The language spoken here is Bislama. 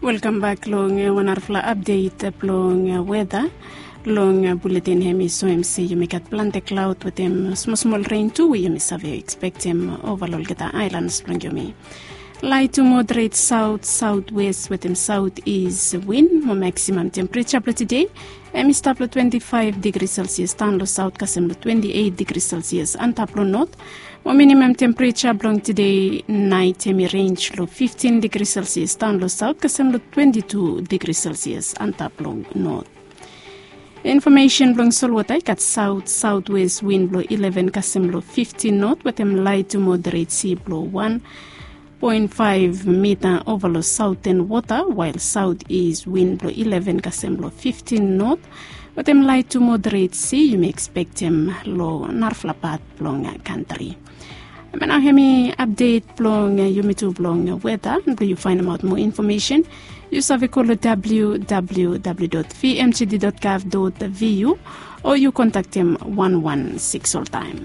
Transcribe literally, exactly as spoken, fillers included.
Welkam bak long wan narafala apdet blong weta. Long buletin hem i soem se yumi gat plante klaod wetem smosmol ren tu we yumi save ekspektem ova long olgeta aelans blong yumi. Lait tu moderet saot saotwes wetem saot is win mo maksimam tempereja blong tede hem i stap long twenti faef digri selsias daon long saot kasem long twenti eit digri selsias antap long not. Mo minimam tempereja blong tede nait hem i renj long fiftin digri selsias daon long saot kasem long twenti tu digri selsias antap long not. Infomesen blong solwota i gat saot saotwes win blong ileven kasem long fiftin not wetem lait tu moderet si blong wan poen faef mita ova long saoten wota wael saot is win blong ileven kasem long fiftin not wetem lait tu moderet si yumi ekspektem long narafala pat blong kantri. Em nao hem i apdet blong yumi tu blong weta. Blong yu faenemaot moa infomesen yu save go long www dot vmgd dot gov dot vu o yu kontaktem wan wan sikis oltaem.